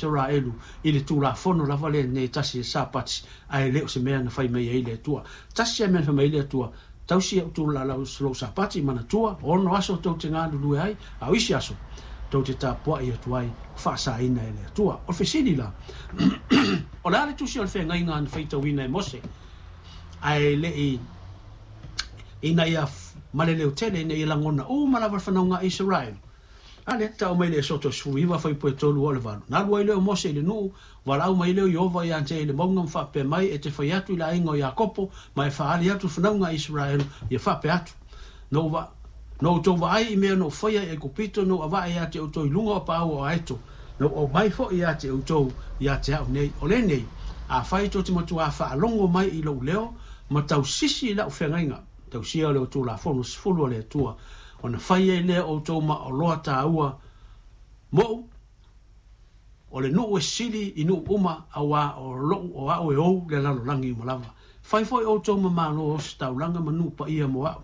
Isaraelu i le Tulafono lava lenei e tasi e Sapati, ae le o se mea na fai mai ai le Atua. Tasi lava mea na fai mai ai le Atua, Tausi au tulalau lou Sapati, manatua, ono aso tou te galulue ai, a o isi aso tou te tapuai atu ai, faasaina e le Atua. O le fesili la, o le a le tusi o le feagaiga na faitauina e Mose, ae le i ina ia ma le leotele ina ia lagona uma lava le fanauga a Isaraelu? A lea tau mai le Esoto 19 fuaiupu e 3 oo i le 8. Na alu ai lea o Mose i le nuu, valaau mai lea o Ieova ia te ia i le mauga ma faapea mai, E te fai atu i le aiga o Iakopo, ma e faaali atu i le fanauga a Isaraelu, ia faapea atu, Na ou va, na outou vaai i mea na ou faia i Aikupito, na ou avae ia te outou i luga o paau o Aeto, na ou aumai foi ia te outou ia te au nei. O lenei, afai tou te matuā faalogo mai i lou leo, ma tausisi i lau feagaiga, tausia o le Tulafono 10 a le Atua, ona fai ai lea o outou ma oloa tāua moʻu, o le nuu e sili i nuu uma, auā o loʻu o aʻu e ou le lalolagi uma lava. Fai foi outou ma malo o ositaulaga ma nuu paia mo aʻu.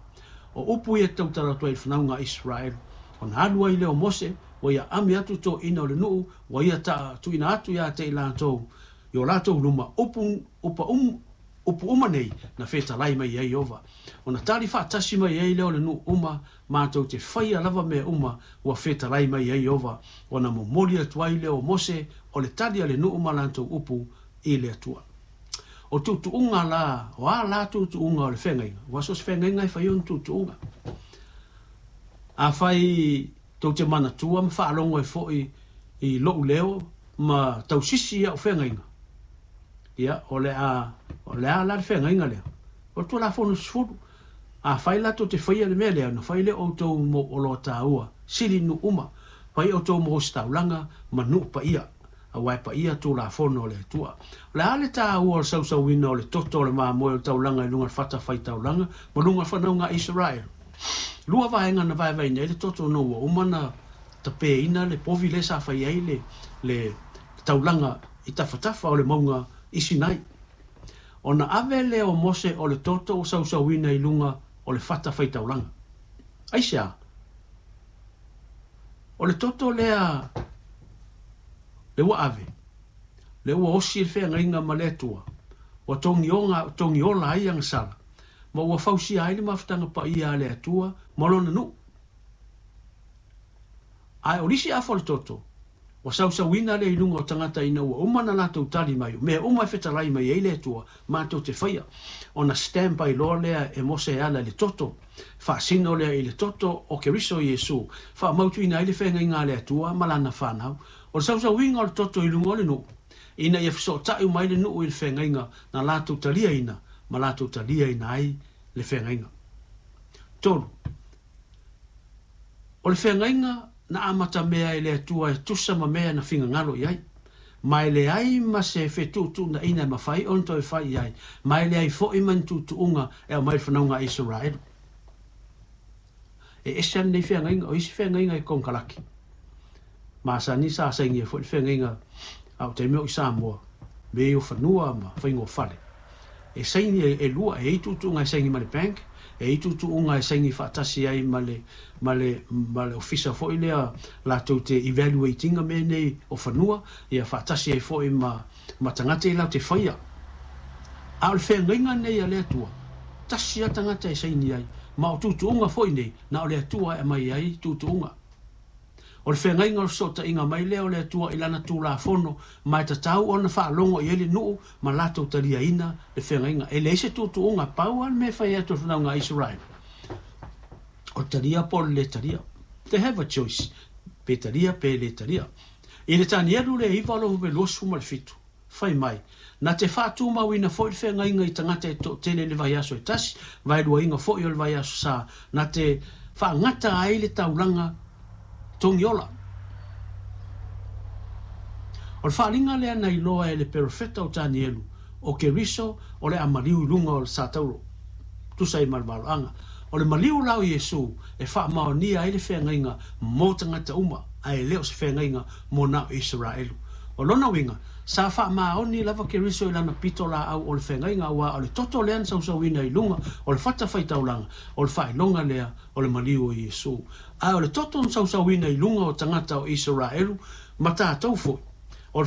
O upu ia e tautala atu ai i le fanauga a Isaraelu. Ona alu ai lea o Mose, ua ia ami atu toeaiina o le nuu, ua ia ta tuuina atu ia te i latou i o latou luma, upu, upa um, upu uma nei na fetalai mai ai Ieova. Ona tali faatasi mai ai lea o le nuu uma, matou te faia lava mea uma ua fetalai mai ai Ieova, ona momoli atu ai lea o Mose o le tali a le nuu ma latou upu i le Atua. O tuutuuga la, o a la tuutuuga o le feagaiga? Ua so o se feagaiga e fai ona tuutuuga. Afai tou te manatua ma faalogo ai foi i lou leo ma tausisi i au feagaiga, ia, o le a, o le a la le feagaiga lea? O le Tulafono 10. Afai la tou te faia le mea lea, ona fai lea o outou mo oloa taua, sili nuu uma, fai outou mo ositaulaga ma nuu paia, aua e paia Tulafono a le Atua. O le a le taua o le sausauina o le toto o le mamoe o le taulaga i luga o le fatafaitaulaga ma luga o le fanauga a Isaraelu? Lua vaega na vaevaeina ai le toto ona ua uma na tapeina le povi lea sa fai ai le, le taulaga i tafatafa o le mauga i Sinai. Ona ave lea o Mose o le toto ua sausauina i luga o le fatafaitaulaga. Aisea? O le toto lea le ua ave, le ua osi le feagaiga ma le Atua, ua togioga, togiola ai agasala, ma ua fausia ai le mafutaga paia a le Atua ma lona nuu. Ae o lisi afa o le toto, ua sausauina lea i luga o tagata ina ua uma na latou tali mai, o mea uma e fetalai mai ai le Atua, matou te faia. Ona stamp ai loa lea e Mose e ala i le toto, faasino lea i le toto o Keriso Iesu, faamautuina ai le feagaiga a le Atua ma lana fanau. O le sausauina o le toto i luga o le nuu, ina ia fesootai uma ai le nuu i le feagaiga na latou taliaina ma latou taliaina ai le feagaiga. 3. O le feagaiga na amatamea e le Atua e tusa ma mea na fingagalo i ai, ma e leai ma se fetuutuunaiga e mafai ona toe fai i ai, ma e leai foi ma ni tuutuuga e aumai i le fanauga a Isaraelu. E ese ana nei feagaiga, o isi feagaiga e konekarate. Masani sa sainia foi le feagaiga a o taimi o i Samoa, me o fanua ma faiga o fale. E saini e lua, e i ai tuutuuga e saini ma le bank, e i ai tuutuuga e saini faatasi ai ma le, ma le, ma le ofisa foi lea latou te evaluate ina mea nei o fanua, ia faatasi ai foi ma, ma tagata ia latou te faia. A o le feagaiga nei a le Atua, tasi lava tagata e saini ai, ma o tuutuuga foi nei, na o le Atua e aumai ai tuutuuga. O le feagaiga o le fesootaiga mai lea o le Atua i Lana Tulafono, ma e tatau ona faalogo i ai le nuu ma latou taliaina le feagaiga. E leai se tuutuuga, pau lava le mea e fai atu e le fanauga a Isaraelu, o le talia po o le lē talia. They have a choice, pe talia pe lē talia. I le Tanielu le 9 o le 27, Fai mai, na te faatumauina foi le feagaiga i tagata e toatele i le vaiaso e tasi, vaeluaina foi o le vaiaso sa, na te faagata ai le taulaga togiola. O le faaaliga lea na iloa e le perofeta o Tanielu, o Keriso o le a maliu i luga o le satauro, tusa ai ma le valoaga. O le maliu la o Iesu e faamaonia ai le feagaiga mo tagata uma, ae le o se feagaiga mo na o Isaraelu. O lona uiga, sa faamaoni lava Keriso i lana pito laau o le feagaiga, aua o le toto lea na sausauina i luga o le fatafaitaulaga, o le faailoga lea o le maliu o Iesu. Ae o le toto na sausauina i luga o tagata o Isaraelu ma tatou foi.